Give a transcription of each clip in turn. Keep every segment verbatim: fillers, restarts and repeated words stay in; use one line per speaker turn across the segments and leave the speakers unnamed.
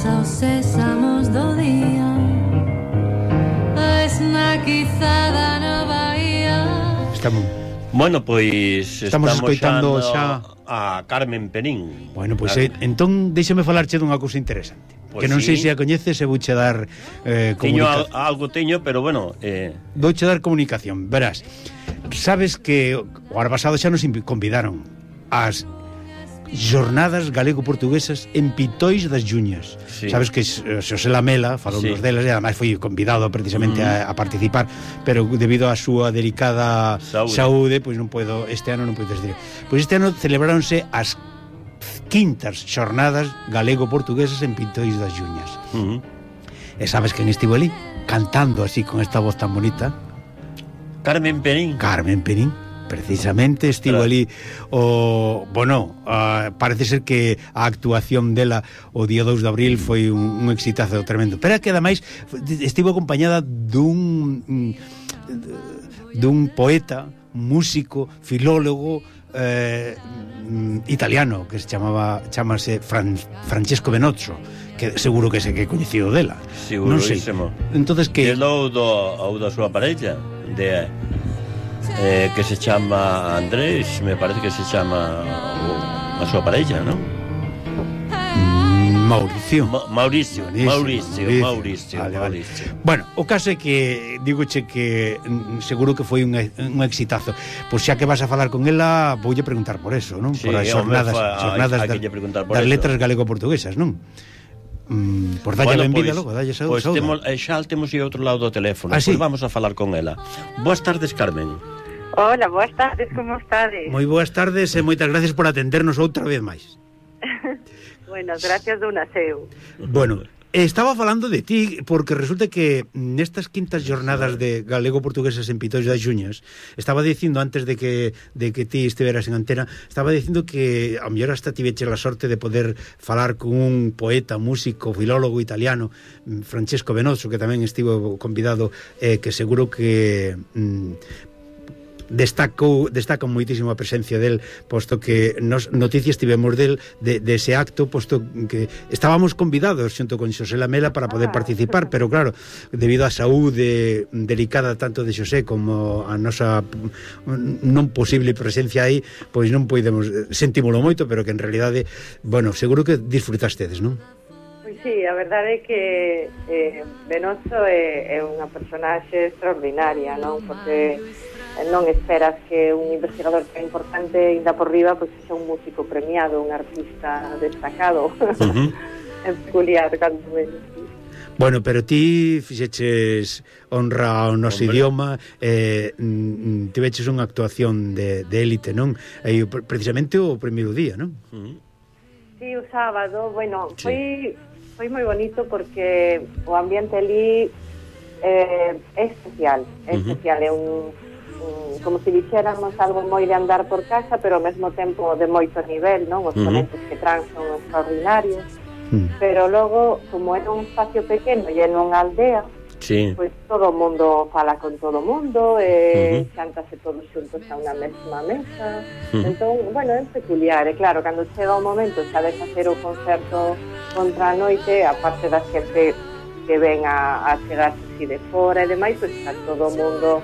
casa os sésamos do día, esnaquizada na bahía.
Estamos...
Bueno, pois
estamos, estamos escoitando xa,
xa a Carmen Perín.
Bueno, pois pues, eh, entón déxame falarche dunha cousa interesante. Pues que non
sí.
sei se a coñeces e vouche dar eh,
comunicación. Teño algo teño, pero bueno, eh...
vouche dar comunicación. Verás, sabes que o ano pasado xa nos convidaron ás Jornadas galego-portuguesas en Pitois das Xuñas. Sí. Sabes que Xosé Lamela falou sí. nos delas e ademais foi convidado precisamente mm. a, a participar, pero debido á súa delicada saúde, saúde pois non podo, este ano non podes dir. Pois este ano celebráronse as quintas Xornadas galego-portuguesas en Pitois das Xuñas. Mm. E sabes quen estivo ali cantando así con esta voz tan bonita?
Carmen Perín.
Carmen Perín. Precisamente estivo claro. ali o, bueno, uh, parece ser que a actuación dela o día dous de abril foi un, un exitazo tremendo, pero é que ademais estivo acompañada dun dun poeta, músico, filólogo eh, italiano que se chamaba chamase Fran, Francesco Benozzo, que seguro que se que coñecido dela.
Segurísimo.
Non sei. Entonces que
o do ou da súa parella de Eh, que se chama Andrés, me parece que se chama a súa parella, non?
Mauricio.
Ma Mauricio, Mauricio, Mauricio, Mauricio, Mauricio, vale, Mauricio.
Vale. Bueno, o caso é que digoche que mm, seguro que foi un, un exitazo. Pois xa que vas a falar con ela, voulle preguntar por eso, non?
Sí,
por as xornadas, xornadas
das,
das letras galego-portuguesas, non? Mm, por dalle
bueno,
benvida
pois,
logo, dalle saúde.
Pois temos, xa temos aí outro lado do teléfono,
ah,
pois
sí?
Vamos a falar con ela. Boas tardes, Carmen.
Hola, boas tardes, como estades?
Moi boas tardes e moitas gracias por atendernos outra vez máis.
Bueno, gracias do naseu.
Bueno, estaba falando de ti porque resulta que nestas quintas jornadas de galego-portuguesas en Pitois das Xuñas, estaba dicindo antes de que de que ti estiveras en antena, estaba dicindo que a mellor hasta tiveche a sorte de poder falar con un poeta, músico, filólogo italiano, Francesco Benozzo, que tamén estivo convidado, eh, que seguro que mm, destacou, destaca moitísimo a presencia del, posto que nos noticias tivemos del de, de ese acto, posto que estábamos convidados xunto con Xosé Lamela para poder participar, pero claro, debido á saúde delicada tanto de Xosé como a nosa non posible presencia aí, pois non podemos, sentímolo moito, pero que en realidade, bueno, seguro que disfrutastedes, non?
Pois sí, a verdade é que eh, Benozzo é, é unha personaxe extraordinaria, non? Porque non esperas que un investigador tan importante ainda por riba pois sexa un músico premiado, un artista destacado. Uh-huh. É peculiar cando menos.
Bueno, pero ti fixeches honra ao noso Hombre. idioma, eh, tiveches unha actuación de, de élite, non? E precisamente o primeiro día, non?
Uh-huh. Sí, o sábado, bueno, sí. foi foi moi bonito porque o ambiente ali eh, é especial, é uh-huh. especial, é un como se dixéramos algo moi de andar por casa, pero ao mesmo tempo de moito nivel, non? Os ponentes uh-huh. que tran son extraordinarios, uh-huh. pero logo, como é un espacio pequeno e é nunha aldea, sí. pois todo o mundo fala con todo o mundo, e uh-huh. xántase todos xuntos a unha mesma mesa, uh-huh. entón, bueno, é peculiar, e claro, cando chega o momento xa de facer o concerto contra a noite, a parte da xente que ven a, a chegar así de fora e demais, pois está todo o mundo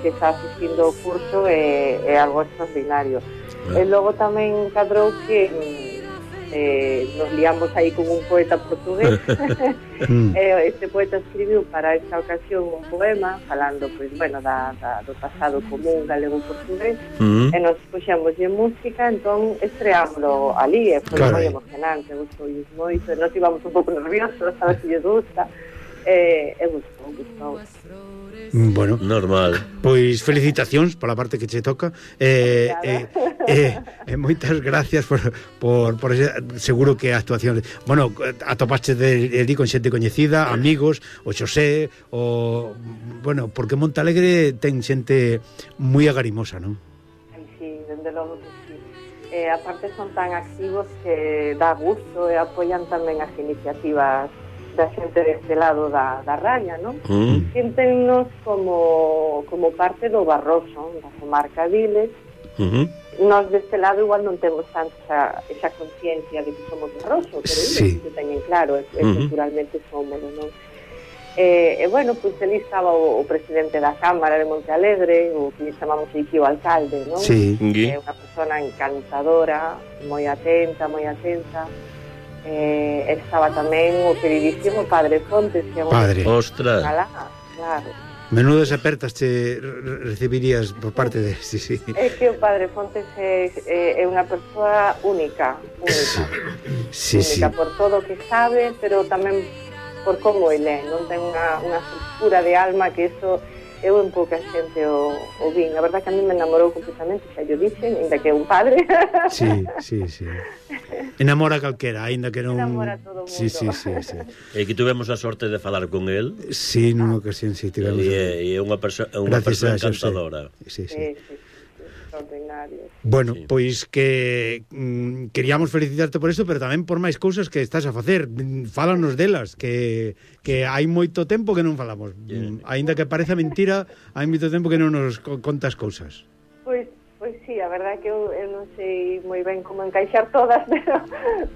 que está asistindo ao curso é, é algo extraordinario. Ah. E logo tamén cadrou que eh, nos liamos aí con un poeta portugués. E este poeta escribiu para esta ocasión un poema falando, pois, bueno, da, da, do pasado común galego-portugués, mm. e nos puxemos de música, entón estreámoslo ali, e foi moi emocionante, gustou moito, e nos íbamos un pouco nerviosos, sabes se lle gusta, e, e gustou, gustou.
Bueno,
normal.
Pois felicitacións pola parte que che toca. Eh, eh, eh, eh, moitas gracias por, por, por ese, seguro que a actuación. Bueno, atopaste de, de con xente coñecida, amigos, o Xosé, o bueno, porque Montalegre ten xente moi agarimosa, non?
Ai, sí, dende logo que sí. Eh, aparte son tan activos que dá gusto e apoian tamén as iniciativas da xente deste lado da, da raya, non? Mm. Siéntennos como, como parte do Barroso, da comarca Viles,
Uh -huh.
Nós deste lado igual non temos tanto esa, esa conciencia de que somos de Rosso, pero
sí.
que teñen claro, e,
Uh -huh.
culturalmente somos, non? E, e bueno, pois ali estaba o, o presidente da Cámara de Montealegre, o que chamamos aquí o alcalde, non?
Sí.
É unha persona encantadora, moi atenta, moi atenta. Eh, estaba tamén o queridísimo Padre Fontes, que é un
Padre.
Ostras.
Alá, claro.
Menudas apertas te recibirías por parte de... Sí, sí.
É que o Padre Fontes é, é, é unha persoa única, única.
Sí,
única
sí.
por todo o que sabe, pero tamén por como ele é, non ten unha, unha estructura de alma que eso eu en pouca xente o, o vin. A verdad que a mí me enamorou completamente, xa yo dixen, ainda que é un padre.
Sí, sí, sí. Enamora calquera, aínda que non...
Enamora todo o mundo.
Sí, sí, sí, sí.
E que tuvemos a sorte de falar con el.
Sí, nunha ocasión, sí, tivemos...
E é, e é unha persoa unha
Gracias
persoa
a Xosé.
encantadora.
Sí, sí.
Sí, sí, sí, extraordinario.
Bueno,
Sí.
pois que mm, queríamos felicitarte por isto, pero tamén por máis cousas que estás a facer. Mm, Fálanos delas, que que hai moito tempo que non falamos.
Yeah.
Mm, Aínda que pareza mentira, hai moito tempo que non nos co- contas cousas.
Pois, pois sí, a verdade que eu, eu non sei moi ben como encaixar todas, pero,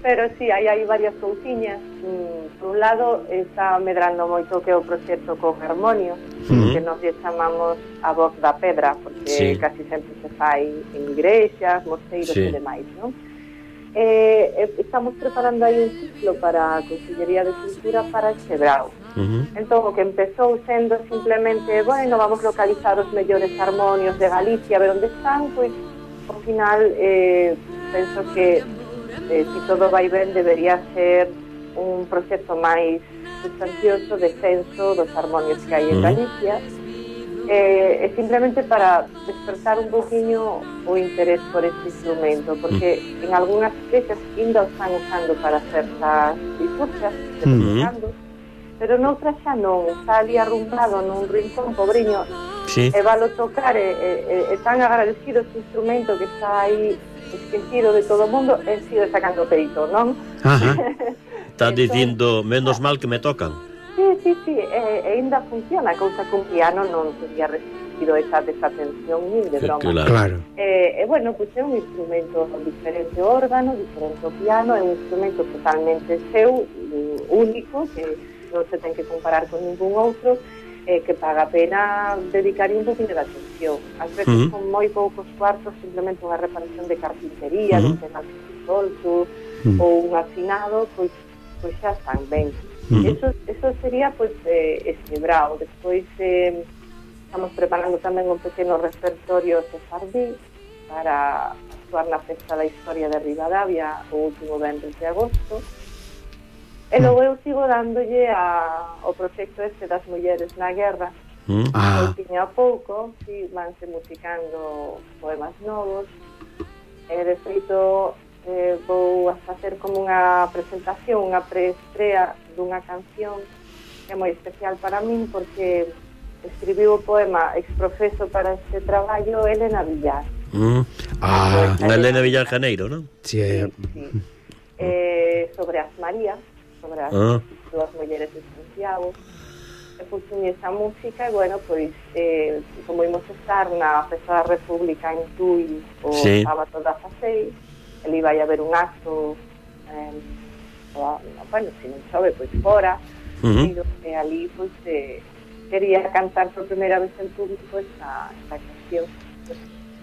pero sí, hai, hai varias cousiñas. Mm, por un lado, está medrando moito que é o proxecto con Harmonio,
Uh-huh.
que nos lle chamamos a voz da pedra, porque
Sí.
casi sempre se fai en igrexas, mosteiros
Sí.
e demais, non? Eh, eh, estamos preparando aí un ciclo para a Consellería de Cultura para este brao.
Uh -huh.
Entón, o que empezou sendo simplemente, bueno, vamos localizar os mellores harmonios de Galicia, a ver onde están, pois, ao final, eh, penso que, eh, si todo vai ben, debería ser un proxecto máis sustancioso de censo dos harmonios que hai en
Uh-huh.
Galicia, eh, e simplemente para despertar un poquinho o interés por este instrumento, porque
Uh-huh.
en algunhas iglesias ainda o están usando para certas liturgias,
Uh-huh.
pero noutras xa non, está ali arrumbado nun rincón, pobriño,
Sí.
e valo tocar, e, e, e tan agradecido este instrumento que está aí esquecido de todo o mundo, e sigo sacando peito, non?
Ajá.
Está
Entón-
dicindo, menos mal que me tocan.
Sí, sí, sí, e, e ainda funciona, cousa que un piano non teria resistido esa desatención nin de broma.
Claro.
Claro.
E, e bueno, pois é un instrumento con diferente órgano, diferente o piano, é un instrumento totalmente seu, mm, único, que non se ten que comparar con ningún outro, eh, que paga a pena dedicar un poquinho de atención. Ás veces
Uh-huh.
con moi poucos cuartos, simplemente unha reparación de carpintería,
Uh-huh.
uh-huh. de un pedal solto,
Uh-huh.
ou un afinado, pois, pois xa están ben.
Uh-huh.
Eso, eso sería pois eh, este brao. Despois eh, estamos preparando tamén un pequeno repertorio sefardí para actuar na Festa da Historia de Ribadavia o último venres de agosto. E logo eu sigo dándolle a, o proxecto este das mulleres na guerra.
Uh -huh.
Ah,
Pouquinho a pouco, si, vanse musicando poemas novos. E de feito eh, vou a facer como unha presentación, unha preestrea dunha canción que é moi especial para min porque escribiu o poema exprofeso para este traballo Elena Villar.
Uh -huh.
ah,
Unha Elena Villar Janeiro, non?
sí, eh,
Sí, sí. Eh, sobre as Marías, sobre as
Ah.
dúas mulleres de Santiago. E puxen esa música e, bueno, pois, eh, como imos estar na Festa da República en Tui o
Sí.
sábado dezaseis, ali vai haber un acto, eh, o, bueno, se non chove, pois fora,
Uh -huh.
e ali, pois, eh, quería cantar por primeira vez en público esta, esta canción.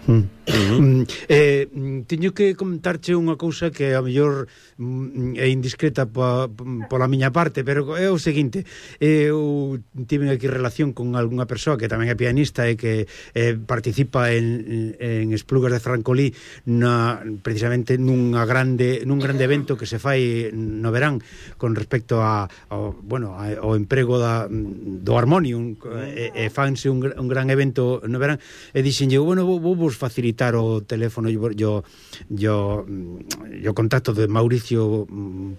mm. Mm, eh, mm, teño que comentarche unha cousa que a mellor mm, é indiscreta pa, pola miña parte, pero é o seguinte: eu tive aquí relación con algunha persoa que tamén é pianista e que eh, participa en, en Esplugas de Francolí na, precisamente nunha grande, nun grande evento que se fai no verán con respecto a, ao, bueno, a, ao emprego da, do armonium, e, e fanse un, un gran evento no verán, e dixenlle, bueno, vou, vou vos facilitar o teléfono yo, yo, yo, yo contacto de Mauricio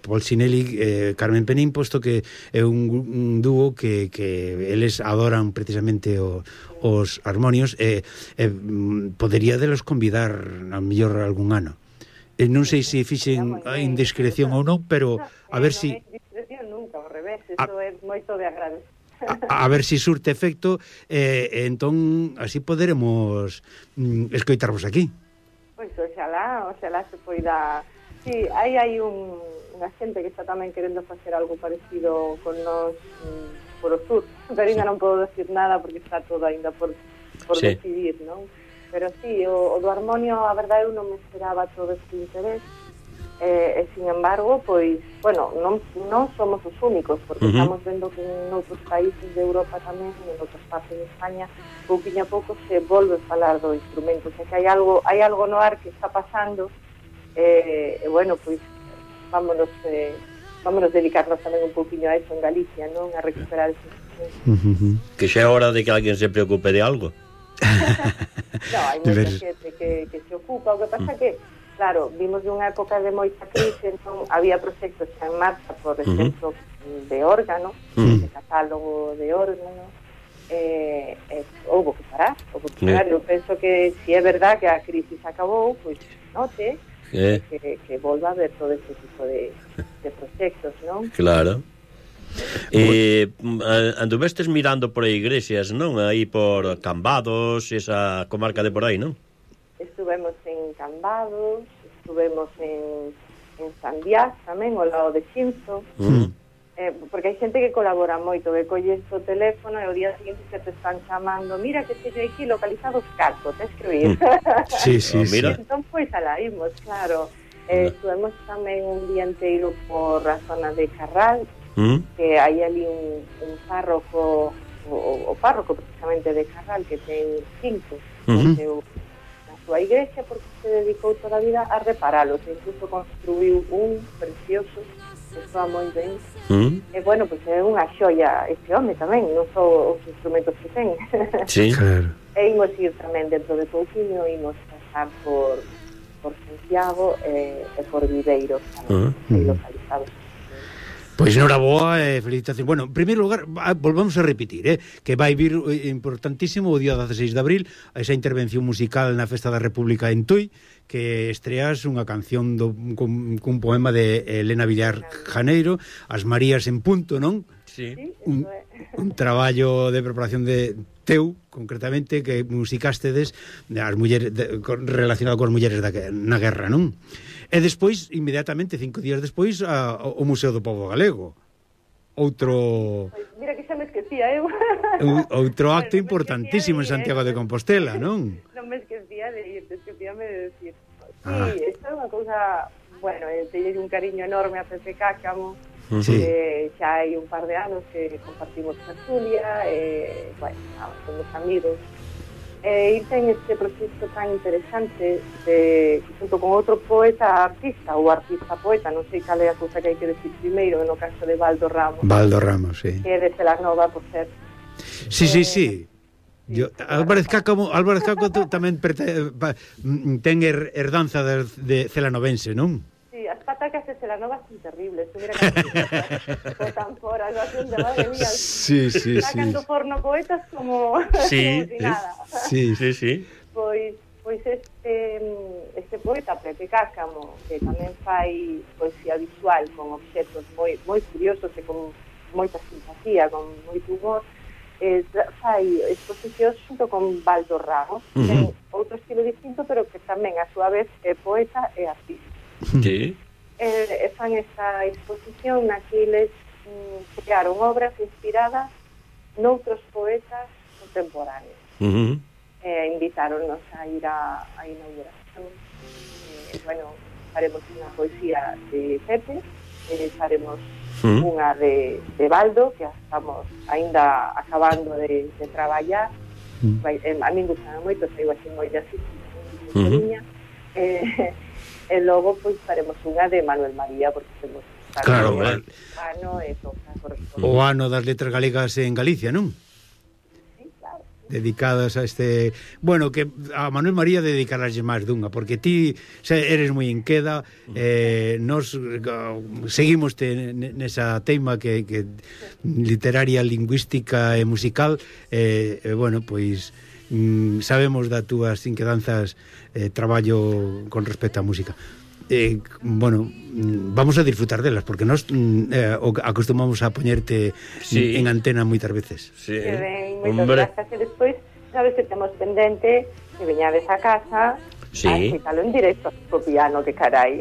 Polsinelli e eh, Carmen Penín, posto que é un, un dúo que, que eles adoran precisamente o, os armonios e eh, eh, podería delos convidar a mellor algún ano. E non sei se fixen a indiscreción ou non, pero a ver si...
Non é discreción nunca, ao revés,
A-
iso é moito de agradecer.
A, a ver si surte efecto, eh, entón así poderemos mm, escoitarvos aquí.
oxalá, oxalá se poida. Sí, aí hai un, unha xente que está tamén querendo facer algo parecido con nós mm, por o sur, pero ainda non podo decir nada porque está todo ainda por, por
sí.
decidir, non? Pero sí, o, o do Harmonio, a verdade, eu non me esperaba todo este interés, eh, e, sin embargo, pois, bueno, non, non somos os únicos, porque uh-huh. estamos vendo que en outros países de Europa tamén, en outras partes de España, pouquinho a pouco se volve a falar do instrumento, o sea, que hai algo, hai algo no ar que está pasando. E, eh, bueno, pois vámonos eh, vámonos dedicarnos tamén un pouquinho a eso en Galicia, non? A recuperar ese
uh-huh.
Que xa é hora de que alguén se preocupe de algo.
No, hai moita xente que, que se ocupa. O que pasa uh-huh. que, claro, vimos de unha época de moita crise, entón había proxectos xa en marcha, por exemplo, uh-huh. de órgano, uh-huh. de catálogo de órgano, eh, eh, houve que parar, houve que parar. Uh-huh. Eu penso que si é verdad que a crisis acabou, pois note Eh. Que, que volva a ver todo este tipo de, de proxectos, non?
Claro. E eh, anduvestes mirando por iglesias, non? Aí por Cambados, esa comarca de por aí, non?
Estuvemos en Cambados, estuvemos en, en Sandiás tamén, ao lado de Xinzo. Mm. Eh, porque hai xente que colabora moito, que colles o teléfono e o día seguinte que te están chamando, mira que teño aquí localizados Carto, tens que oír.
Sí, sí, sí.
Mira. Entón, pois, alá imos, claro. Eh, estuvemos tamén un día inteiro por a zona de Carral, ¿Mm? Que hai ali un, un párroco, o, o párroco precisamente de Carral, que ten cinco, uh-huh. seu, na súa igrexa, porque se dedicou toda a vida a reparalos, e incluso construiu un precioso, que está moi ben. Mm. E, bueno, pois pues, é unha xoia este home tamén, non só os instrumentos que ten.
Sí, claro.
E imos ir tamén dentro de pouquinho, imos pasar por, por Santiago e, e por Viveiro, tamén, uh-huh. aí localizados.
Pois noraboa e eh, felicitación. Bueno, en primeiro lugar, volvamos a repetir, eh, que vai vir eh, importantísimo o día dezaseis de abril esa intervención musical na Festa da República en Tui, que estreas unha canción do, cun, cun poema de Elena Villar Janeiro, As Marías en Punto, non?
Sí.
Un, un traballo de preparación de teu, concretamente, que musicastedes as mulleres de, relacionado con as mulleres da, na guerra, non? E despois, inmediatamente, cinco días despois, a, o Museo do Pobo Galego. Outro...
Mira que xa me esquecía, eu.
Outro acto bueno, importantísimo de, en Santiago de Compostela, non?
Non me esquecía de ir, esquecíame de decir. Sí, ah. Esta é unha cousa... Bueno, teño un cariño enorme a Pepe Cácamo. Sí. Eh, xa hai un par de anos que compartimos tertulia, e, bueno, somos amigos. E irse en este proxecto tan interesante de, junto con outro poeta artista ou artista poeta, non sei cal é a cousa que hai que decir primeiro, no caso de Baldo Ramos.
Baldo Ramos, sí.
Que é de Celanova, por ser.
Sí, sí, sí. Yo, Álvarez Cácamo, Álvarez Cácamo tamén perte, pa, ten her, herdanza de, de celanovense, non?
Sí, as patacas de Celanova son terribles. Mira que botan fora, no hacen de madre mía.
Sí, sí, sí.
Sacando forno poetas como,
sí,
como si nada.
Sí, sí, sí.
Pois, pois este, este poeta, Pepe Cácamo, que tamén fai poesía visual con obxetos moi, moi curiosos e con moita simpatía, con moito humor, eh, fai exposicións junto con Baldo Ramos, uh-huh. que ten outro estilo distinto, pero que tamén a súa vez é poeta e artista.
Sí.
E, e fan esta exposición na que eles mm, crearon obras inspiradas noutros poetas contemporáneos.
Uh-huh.
E invitáronnos a ir a, a inauguración. E, bueno, faremos unha poesía de Pepe, e faremos uh-huh. unha de, de Baldo, que estamos aínda acabando de, de traballar. Uh-huh. Vai, eh, a min gustaba moito, saiu así moi de así, uh-huh. eh, e logo pois faremos unha de Manuel María, porque temos
claro,
o ano e toca corresponde.
O ano das letras galegas en Galicia, non?
Sí, claro.
Dedicadas a este... Bueno, que a Manuel María dedicaraslle máis dunha, porque ti eres moi inqueda, eh, nos seguimos te nesa teima que, que literaria, lingüística e musical, e eh, eh, bueno, pois... Mm, sabemos das túas inquedanzas eh, traballo con respecto á música eh, bueno, mm, vamos a disfrutar delas porque nós mm, eh, acostumamos a poñerte sí. en antena moitas veces
sí. Que ben, moitas grazas e despois sabes que temos pendente que veñades a casa
Sí.
A escuitalo en directo co piano, que carai.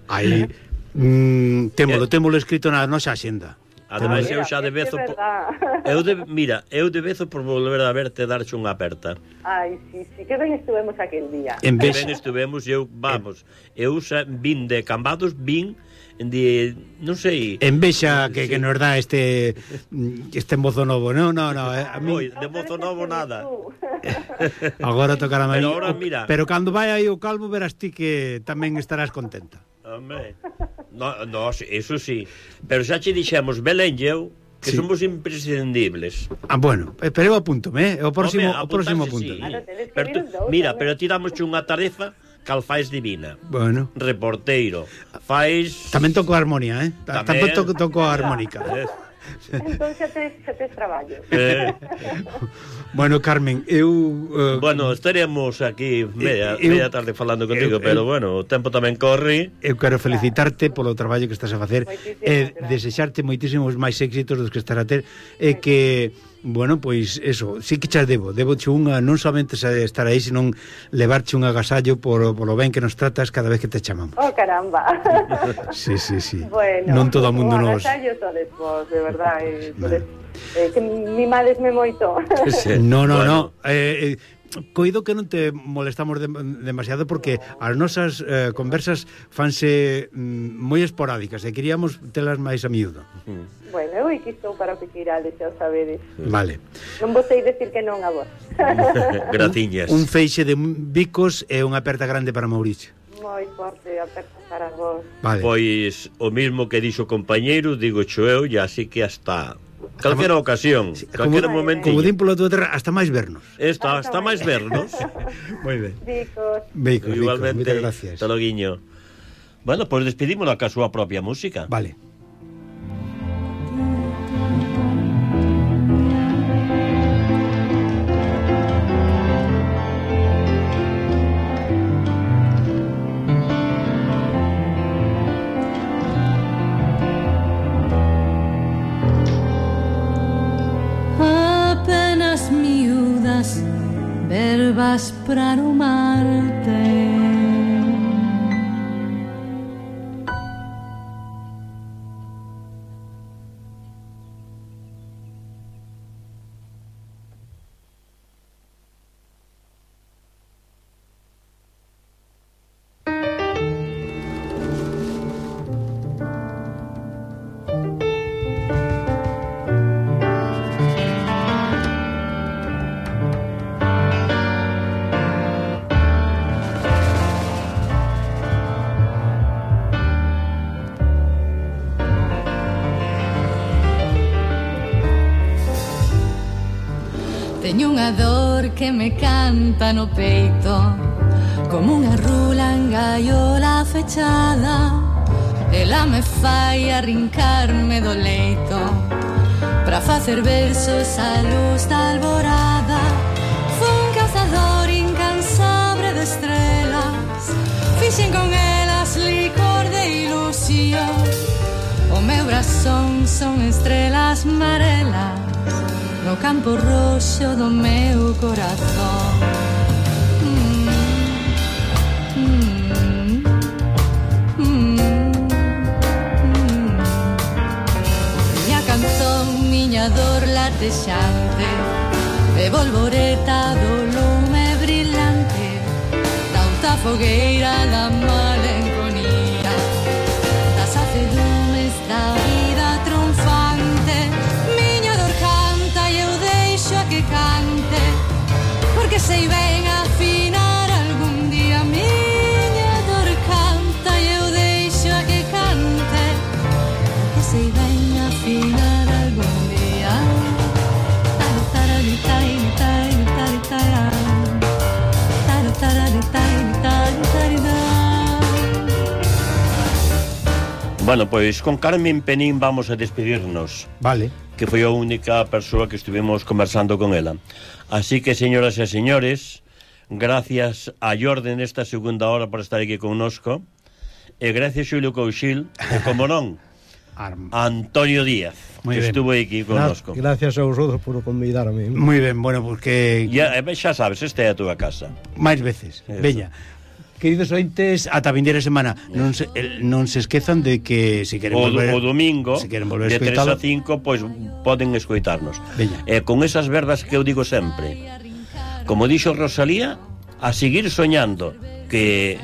Aí mm, témolo, témolo escrito na nosa axenda.
Ademais,
Mira,
eu xa de
é que
vezo...
é
por-
verdad.
Eu de, mira, eu de vezo por volver a verte darche unha aperta.
Ai, sí, sí, que ben estuvemos aquel día.
En
Que
vez
ben estuvemos, eu, vamos, eu xa vin de Cambados, vin de, non sei...
envexa que,
Sí.
que nos dá este este mozo novo. No, no, no, eh, a mí
Oi, de mozo novo nada.
agora tocará máis.
Pero ahora, mira.
Pero cando vai aí o calvo verás ti que tamén estarás contenta.
Hombre, no, no, eso sí. Pero xa che dixemos, Belén e eu, que
Sí.
somos imprescindibles.
Ah, bueno, eh, pero eu apúntome, eh, o próximo
Home,
o próximo
apuntarse,
punto.
sí.
Claro, tedes que
Pero
vir
tú-
os dous
mira,
tamén.
pero tiramos unha tarefa cal fais divina.
Bueno,
Reporteiro, fais...
tamén toco a armonía, eh? Ta-
Tamén.
Tamén toco, toco a armónica.
Eh,
Entón xa tes, xa tes traballo.
eh,
Bueno, Carmen, eu uh,
bueno, estaremos aquí media,
Eu-
media tarde falando contigo,
eu-
pero
eu-
bueno, o tempo tamén corre.
eu quero felicitarte polo traballo que estás a facer
Moitísimas
e
gracias.
desexarte moitísimos máis éxitos dos que estás a ter e que, bueno, pois eso, sí que xa debo, debo che unha, non somente estar aí, sino levarche un agasallo por, polo ben que nos tratas cada vez que te chamamos.
Oh, caramba.
Sí, sí, sí.
Bueno,
Non todo o mundo
o
nos...
agasallo sodes vos, de verdad. Eh, sodes, eh, que mimadesme moito.
No, no,
Bueno.
no. Eh, eh, coido que non te molestamos de, demasiado porque as nosas eh, conversas fanse mm, moi esporádicas e queríamos telas máis a miúdo.
Bueno, eu aquí estou para o que queirades, xa o sabedes.
Vale.
Non vos sei decir que non a vos.
Graciñas.
Un feixe de bicos e unha aperta grande para Mauricio.
Moi forte aperta para vos.
Vale.
Pois o mismo que dixo o compañeiro, digo cho eu, e así que hasta calquera ocasión, calquera
como,
momento.
como din polo tua terra, hasta máis vernos.
Esta, hasta máis vernos.
Moi ben.
Bicos.
Bicos, bicos,
Igualmente,
moitas gracias.
hasta loguiño. Bueno, pois pues despedímonos ca súa propia música.
Vale.
Apenas miúdas verbas para amarte. Teño unha dor que me canta no peito, como unha rula en gaiola fechada. Ela me fai arrincarme do leito pra facer versos á luz da alborada. Fun cazador incansable de estrelas, fixen con elas licor de ilusión. O meu brazón son estrelas marelas no campo roxo do meu corazón. Mm, mm, mm, mm. Miña canzón, miña dor latexante, de volvoreta do lume brillante, da outra fogueira da malenconía, das azedumes da vida triunfante. Miña dor canta e eu deixo a que cante, porque sei ben afinar algún día. Miña dor canta e eu deixo a que cante, porque sei ben afinar algún día. Taro, tarari, tai, tai, tai, tai, taro, tarari, tai, tai, tai, tai.
Bueno, pois con Carmen Penín vamos a despedirnos,
Vale.
que foi a única persoa que estuvimos conversando con ela. Así que, señoras e señores, gracias a Jordi nesta segunda hora por estar aquí connosco, e gracias Xulio Couchil, e como non,
Arm.
a Antonio Díaz.
Muy
que
ben.
estuvo aquí connosco.
Gracias a vosotros por convidarme.
Moi ben, bueno, porque
Ya, eh, xa sabes, esta é a túa casa.
máis veces.
Eso.
Veña. Queridos ointes, ata a vindeira semana non se, el, non se esquezan de que se queren
O,
volver
o domingo,
se queren volver
de
a
tres
escoitalo,
a cinco, pois poden escoitarnos.
Veña.
E con esas verbas que eu digo sempre, como dixo Rosalía, a seguir soñando, que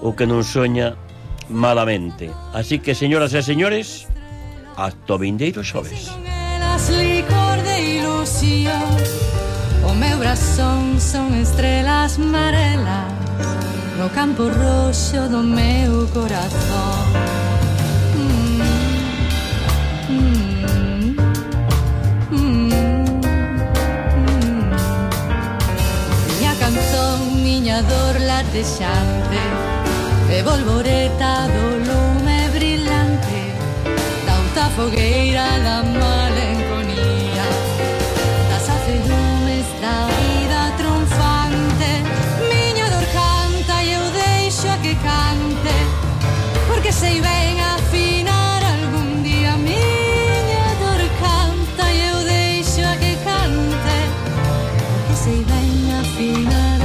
o que non soña malamente. Así que, señoras e señores, hasta o vindeiro xoves.
Con elas licor de ilusión, o meu brazón son estrelas marelas no campo roxo do meu corazón. Mm, mm, mm, mm. Miña canzón, miña dor latexante, e volvoreta do lume brillante da outra fogueira da malenconía, das acedumes da vida triunfante. Miña dor canta e eu deixo a que cante, porque sei ben afinar algún día. Miña dor canta e eu deixo a que cante, porque sei ben afinar